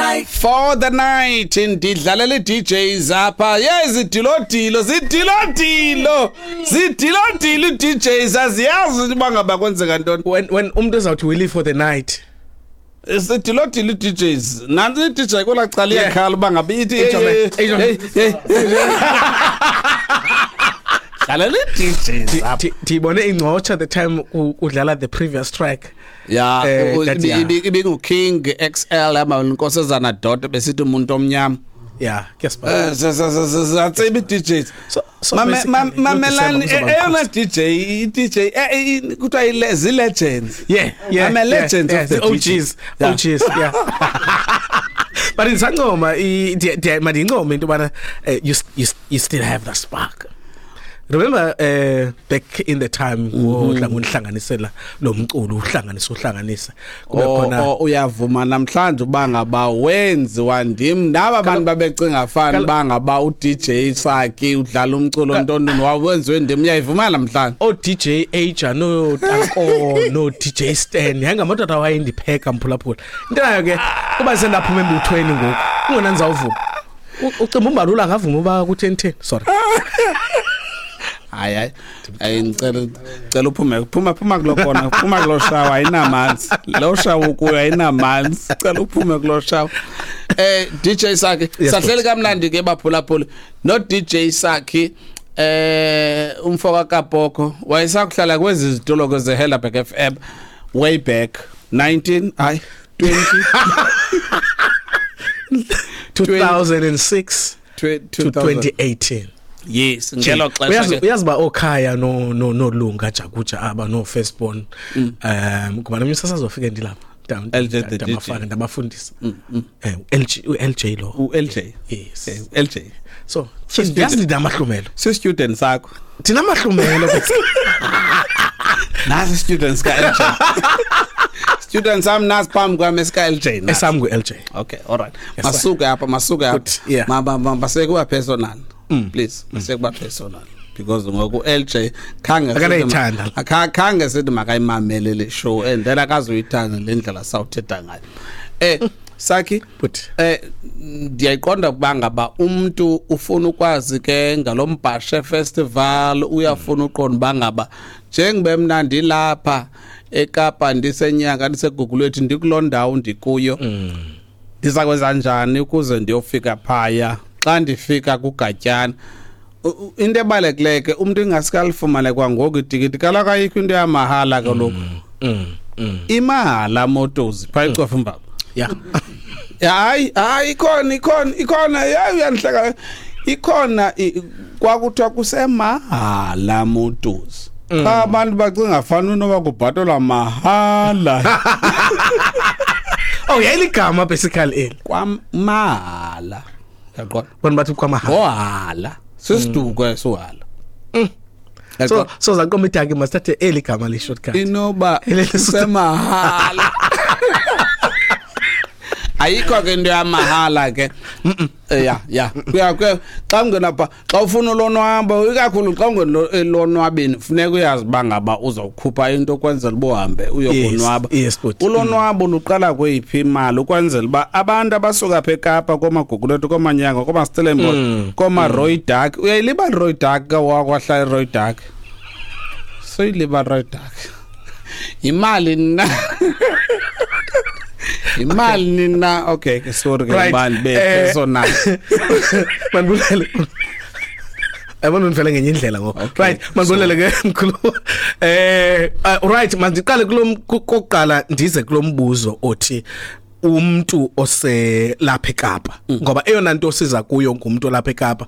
night. For the night ndidlalela i-DJs apha. Yezidilodilo, zidilodilo, zidilodilo i-DJs, aziyazi uba ngaba kwenzeka ntoni. When umuntu ezawuthi we live for the night. Zidilodilo i-DJs. Nantsi i-DJ kwelaa cala iyakhala uba ngaba ithi hey, Ijome, hey, ijome. hey, hey. Dlalela i-DJs apha. Ndiyibone ingcotsha the time udlala the previous track. Ya, That, yeah. ibingu-King XL ama Nkosazana Dot besithi umuntu omnyama. Yeah, guess what? Zatsiba i-DJs. So basically, Mamelani, kulo December kuzoba eyona mkhosi. DJ, i-DJ kuthiwa zii-legends. Yeah, I'm a legend yeah, of the the OGs, DJ. Yeah. OGs, yeah. But ndisancoma mandiyincome into yobana you still have the spark. Remember back in the time wodla ngonihlanganisela lo mculo, uhlanganisa uhlanganisa kube khona. Oh, uyavuma namhlanje uba ngaba wenziwa ndim naba bantu babecinga fani uba ngaba u-DJ Saki udlala umculo ntontoni wawenziwe ndim, uyayivuma namhlanje? O DJ Aja no Tanko no DJ Stan yayingamadoda awayendipheka, mphulaphula. Into nayo ke kuba sendaphuma embuthweni ngoku kungona ndizawuvuma. Ucimba umbalula angavuma uba ku-10 10, sorry. Hayi, hayi, hayi, ngicela, cela uphume, phuma, phuma kulo kona, phuma kulo shawa, ayinamanzi lo shawa ukuyo, ayinamanzi, cela uphume kulo shawa. DJ Saki, Yes, sahleli boss. kamnandi ke baphulaphula no DJ Saki. Umfoka kaPoko wayesakuhlala kwezi zitulo kweze Helderberg FM way back 19, hayi, 20 2006 to 2018. Yes, ngelo xesha Uyazi ke. Uyazi ba okhaya no no nolunga jakuja aba no firstborn, kuba nomnye usasazofika ndilapha. LJ the DJ. Ndabafaka, ndabafundisa. LG, u-LJ lo. U-LJ. Yes. LJ. So yazi ndinamahlumelo. Si student sakho. Ndinamahlumelo. Nasi students ka LJ, students am nasi phambi kwami esika LJ nasi. Esam ngu-LJ. Okay, all right. Yes, Masuke apha, masuke apha. Good, yeah. Ma sekuba personal. Please, masekuba personal. Because ngoku LJ khange Akanayithanda. Khange sithi makayimamele le show and then akazuyithanda le ndlela sawuthetha ngayo. Saki, But ndiyayiqonda ukuba ngaba umuntu ufuna ukwazi ke ngalombhashe festival, uyafuna uqonda uba ngaba njengoba mna ndilapha eKapa, ndisenyanga, ndiseGugulethu, ndikuloo ndawo ndikuyo, ndiza kwenza njani ukuze ndiyofika phaya xa ndifika kuGatyana? Into ebalulekileyo ke, umntu ingaske alifumane kwangoku itikiti, kaloku ayikho into yamahala kaloku. Imahala Motors phaa eCofimvaba. Hayi, hayi, ikhona, ikhona, ikhona, hayi, uyandihleka, ikhona. Kwakuthiwa kusemahala Motors, xa abantu bacinga fana unoba kubhatalwa mahala. Oh, yayiligama basically eli. Kwamahala, yaqonda? Bona bathi kwamahala. Ngohala sisiduko esohala. So zaqoma idaki masithathe eli gama li shortcut. Inoba Elele kusemahala, ayikho ke into yamahala ke. Ya, kuya xa ungena pha, xa ufuna ulonwabo, ikakhulu xa ungena elonwabeni, funeka uyazi uba ngaba uzawukhupha into ukwenzela uba uhambe uyokonwaba. Yes, but Ulonwabo luqala kweyiphi imali, ukwenzela uba abantu abasuka apha eKapa, koomaGugulethu, kooManyanga, koomaStellenbosch, koomaRooidak, uyayilibala iRooidak ke, wakwahlala iRooidak, soyilibala iRooidak, yimali na, imali nina. Okay ke, sorry ke. Imali be-personal. Mandibulele, yabona ndivele ngenye indlela ngoku. Okay, Right, mandibulele ke mkhulu. Right, mandiqale kulo kokuqala, ndize kulo mbuzo othi umuntu oselapha eKapa, ngoba eyona nto siza kuyo ngumuntu olapha eKapa.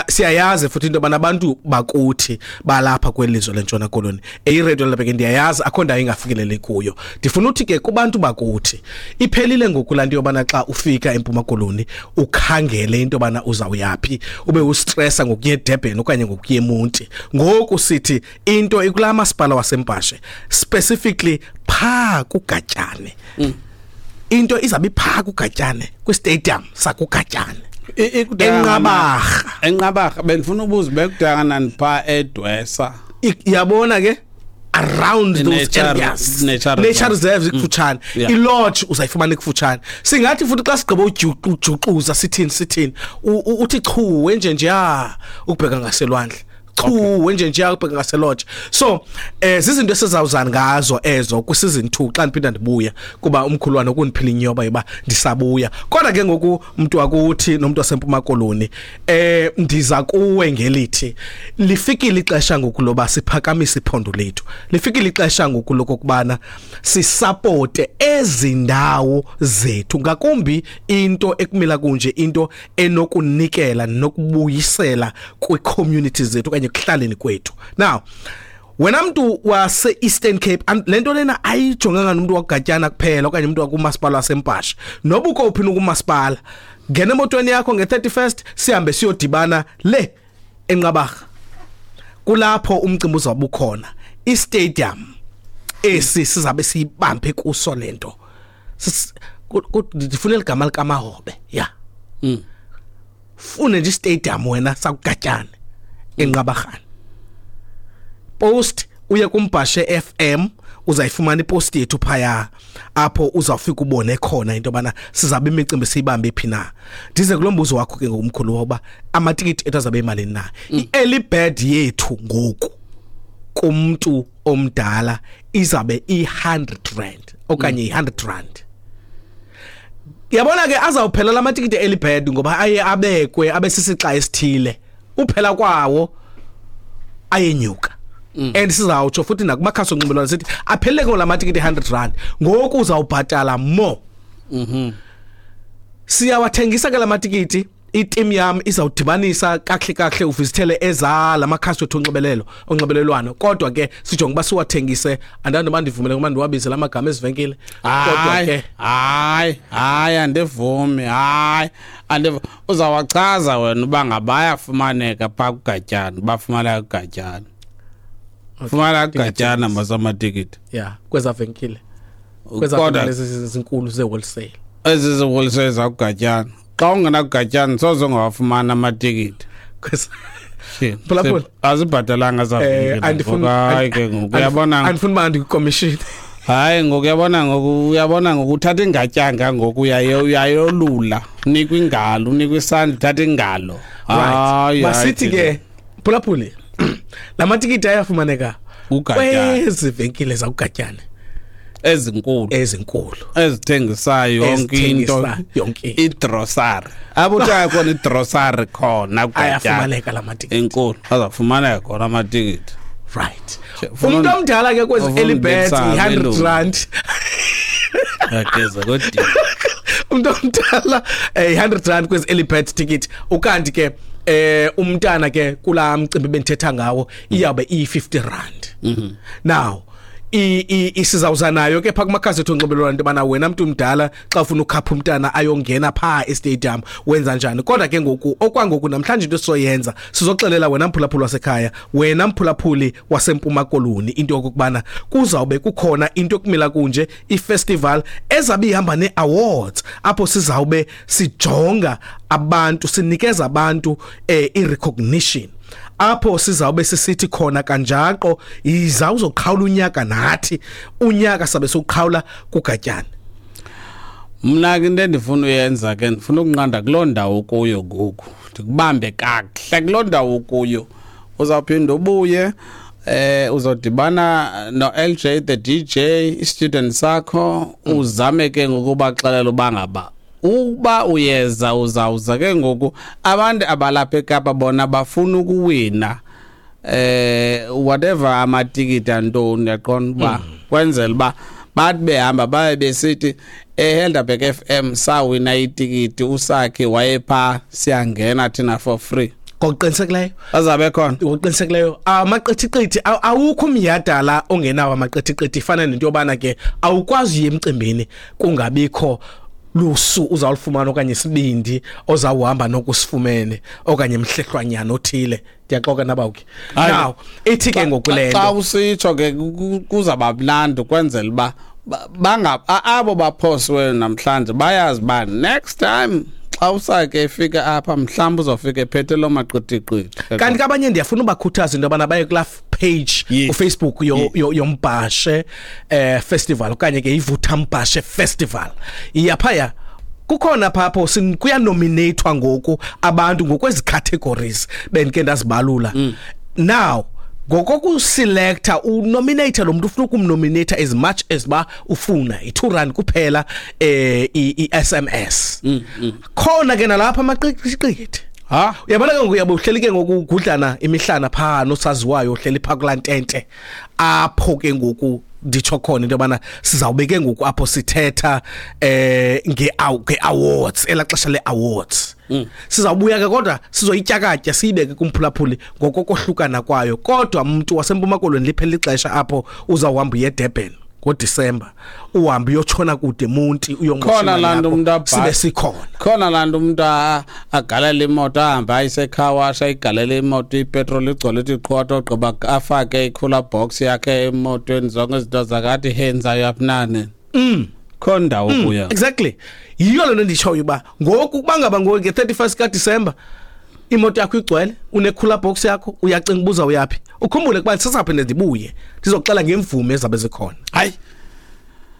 Siyayazi futhi into yobana abantu bakuthi balapha kwelizwe lentshona koloni, eyiredio lapha ke, ndiyayazi akho ndawo ingafikeleli kuyo. Ndifuna uthi ke kubantu bakuthi, iphelile ngoku laa nto yobana xa ufika eMpuma Koloni ukhangele into yobana uzawuyaphi, ube ustressa ngokuya eDurban okanye ngokuya eMonti. Ngoku sithi into ikulaa masipala waseMbhashe, specifically phaa kuGatyane. Into izabe iphaa kuGatyane, kwistadium sakuGatyane. ENqabarha. ENqabarha. Bendifuna ubuza, bekude kanani phaa eDwesa? Yabona ke, Around those areas, nature reserves ikufutshane, i-lodge uzayifumana ikufutshane. Singathi futhi xa sigqiba ujuxuza sithini uthi chu wenje nje ukubheka ngaselwandle, chu wenje nje ukubheka ngaselodge. So zizinto esizawuzana ngazo ezo ku season 2 xa ndiphinda ndibuya, kuba umkhulwana ukundiphila inyoba yoba ndisabuya. Kodwa ke ngoku umuntu wakuthi nomuntu waseMpuma Koloni, ndiza kuwe ngelithi lifikile ixesha ngoku loba siphakamise iphondo lethu, lifikile ixesha ngoku lokubana sisupporte ezindawo zethu, ngakumbi into ekumila kunje, into enokunikela nokubuyisela kwi-communities zethu okanye ekuhlaleni kwethu. Now wena mntu wase Eastern Cape, lento lena ayijonganga nomuntu wakuGatyana kuphela okanye umuntu wakumasipala waseMpashe, noba ukuphi nokumasipala, ngena emotweni yakho nge-31st sihambe siyodibana le eNqabarha, kulapho umcimbi uzabe ukhona. I-stadium esi sizabe siyibambe kuso lento, ndifuna igama likaMahobe, ya fune nje stadium wena sakuGatyana eNqabarhana. Post uye kuMbhashe FM, uzayifumana ipost yethu phaya, apho uzawufika ubone khona into bana sizabe imicimbi siyibambe phi na. Ndize kulombuzo wakho ke ngomkhulu woba amatikiti ethu azabe imalini na. I-early bird yethu ngoku kumuntu omdala izabe i-100 rand okanye i-100 rand. Yabona ke azawuphela lamatikiti early bird ngoba aye abekwe abesisixa esithile, uphela kwawo ayenyuka. And sizawutsho futhi nakumakhasi onxibelelwano sithi aphelele ke lamatikiti 100 rand, ngoku uzawubhatala more. Siyawathengisa ke lamatikiti, i-team yam izawudibanisa kahle kahle uvizithele eza lamakhasi wethu onxibelelwano, kodwa ke sijonge uba siwathengise. Andandi uba ndivumele ngoba ndiwabize lamagama ezivenkile, kodwa ke hayi andivumi, hayi uzawachaza wena uba ngabayafumaneka phaa kuGatyana, bafumaneka kuGatyana, fumana kuGatyana masamatikiti ya kweza venkile, kweza lezi zinkulu ze-wholesale, ezi ze-wholesale zakuGatyana. Xa ungenakuGatyana soze ungawafumana amatikiti. Azibhatalanga zavenkile. Ke ngoku uyabona, andifuni uba ndikwicommission. Hayi ngoku uyabona, ngoku uyabona, ngoku uthatha ingatyanga ngoku uyayolula, unikwa ingalo, unikwa isandla, uthatha ingalo. Right, masithi ke phulaphuli, lamatikiti ayafumaneka kwezi venkile zakuGatyana ezinkulu ezithengisayo yonke into, igrosari apho uthenga khona igrosari khona kuGatyana ayafumaneka lamatikiti enkulu, azafumaneka khona amatikiti. Right, umuntu omdala ke kwezi early birds i-100 rand. Yageza kodwa umuntu omdala 100 rand kwezi early bird ticket, ukanti ke umntana ke kula mcimbi bendithetha ngawo iyabe iyi-50 rand. Now isizawuza nayo ke pha kumakhasi ethu onxibelelwano into bana wena mntu mdala xa ufuna ukhapha umntana ayongena pha e-stadium wenza njani. Kodwa ke ngoku okwangoku namhlanje into esizoyenza, sizoxelela wena mphulaphuli wasekhaya, wena mphulaphuli waseMpuma Koloni, into yokubana kuzawube kukhona into ekumila kunje i-festival ezabe ihamba ne-awards, apho sizawube sijonga abantu, sinikeza abantu i-recognition, apho sizawube sisithi khona kanjaqo iza uzoqhawula unyaka nathi, unyaka sabe soqhawula kuGatyana. Mna ke into endifuna uyenza ke, ndifuna ukunqanda kuloo ndawo kuyo ngoku, ndikubambe kakuhle kuloo ndawo kuyo. Uzawuphinda ubuye, uzodibana no LJ the DJ, i-student sakho, uzame ke ngokubaxelela uba ngaba uba uyeza uzawuza ke ngoku. Abantu abalapha eKapa bona bafuna ukuwina whatever amatikiti antoni, uyaqonda uba kwenzela uba bathi behamba baye besithi eHelderberg FM sawina itikiti, usakhe wayepha, siyangena thina for free. Ngokuqinisekileyo azabe khona, ngokuqinisekileyo amaqithiqithi awukho umyadala ongenawo amaqithiqithi. Ifana nento yobana ke awukwazi uye emcimbini kungabikho lusu uzawulifumana okanye isibindi ozawuhamba nokusifumene okanye mhlehlwanyana othile. Ndiyaxoka nabawuke. Now ithi ke ngokulento xa usitsho ke kuzaba mnandi kwenzela uba banga abo baphoswe namhlanje bayazi ba next time Xa usake efika apha mhlawumbi uzofika ephethe loo maqithiqithi. Kanti kabanye ndiyafuna ubakhuthaza into yobana baye kulaa page uFacebook yoMbhashe festival okanye ke iVutha Mbhashe Festival. Iyaphaya kukhona phapho kuyanominathwa ngoku abantu ngokwezi categories bendike ndazibalula. Now ngokokuselecta unominate lo muntu ufuna ukumnominate as much as ba ufuna i2 rand kuphela i-SMS. Khona ke nalapha amaqiqiqithi. Ha, uyabona ke ngoku uyabuhleli ke ngoku ugudlana imihlana pha nosaziwayo uhleli pha kulantente apho ke ngoku nditsho khona into yobana sizawube ke ngoku apho sithetha nge-awards elaxesha le-awards. Sizawubuya ke kodwa sizoyityakatya siyibeke kumphulaphuli ngokokohlukana kwayo. Kodwa umuntu waseMpuma Koloni liphela ixesha apho uzawuhamba uye eDurban ngoDisemba, uhambe uyotshona kude eMonti khona laa nto umntu sibe sikhona. Khona laa nto umntu agalele imoto ahambe ayisekhawasha ayigalele imoto ipetroli igcwele ithi qhwato ogqiba afake i-cooler box yakhe emotweni zonke izinto zakathi henzayo aphinane. Khona ndawo kuya. Exactly. Yiyo le nto nditshoyo uba ngoku kuba ngaba ngoku nge-31 kaDisemba imoto yakho igcwele, une-cooler box yakho, uyacinga ubuza uyaphi. Ukhumbule ukuba ndisasaphinda ndibuye ndizoxela ngemvume ezabe zikhona. Hayi,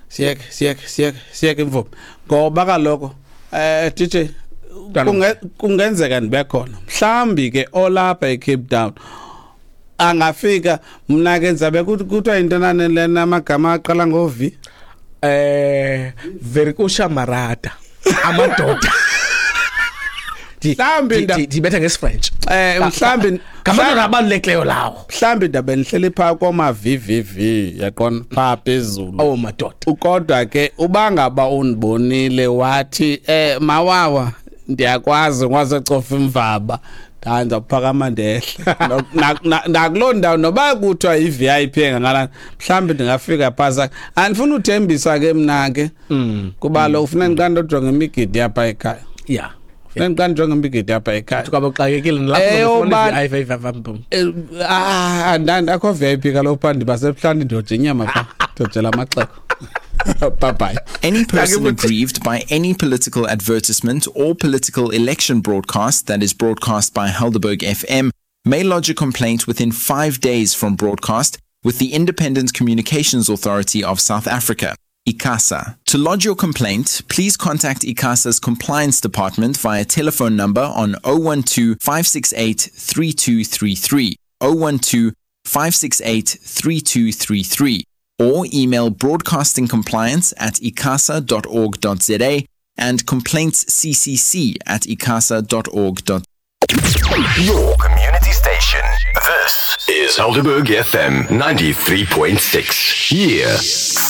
siyeke imvume ngoba kaloku DJ kungenzeka ndibe khona mhlambi ke olapha eCape Town angafika. Mna ke ndizabe kuthiwa into nane lena amagama aqala ngo-V Verikusha Marata amadoda. Mhlambi ndibetha ngesiFrench. Mhlambi ngamadoda abalulekileyo lawo. Mhlambi ndabe ndihleli phaa koma VVV yaqona phaa phezulu. Oh madoda. Kodwa ke uba ngaba undibonile wathi mawawa ndiyakwazi ngwasecofa imvaba ndandawuphakama ndehle nakuloo ndawo noba kuthiwa i-VIP engakanani mhlawumbi ndingafika phasa. Andifuna uthembisa ke mna ke kuba lo ufuna ndiqale ndojonga imigidi yapha ekhaya. Yeah. Funeka ndijonge imigidi yapha ekhaya. Kwabe uxakekile nalapho ufuna i-VIP. Andakho VIP kaloku phaa ndibasebuhlanti ndiyoja inyama phaa ndiyojela amaxeko. Bye-bye. Any person aggrieved by any political advertisement or political election broadcast that is broadcast by Helderberg FM may lodge a complaint within 5 days from broadcast with the Independent Communications Authority of South Africa, ICASA. To lodge your complaint, please contact ICASA's Compliance Department via telephone number on 012 568 3233, 012 568 3233, or email broadcastingcompliance@icasa.org.za and complaintsccc@icasa.org.za. Your community station. This is Helderberg FM 93.6. Yeah.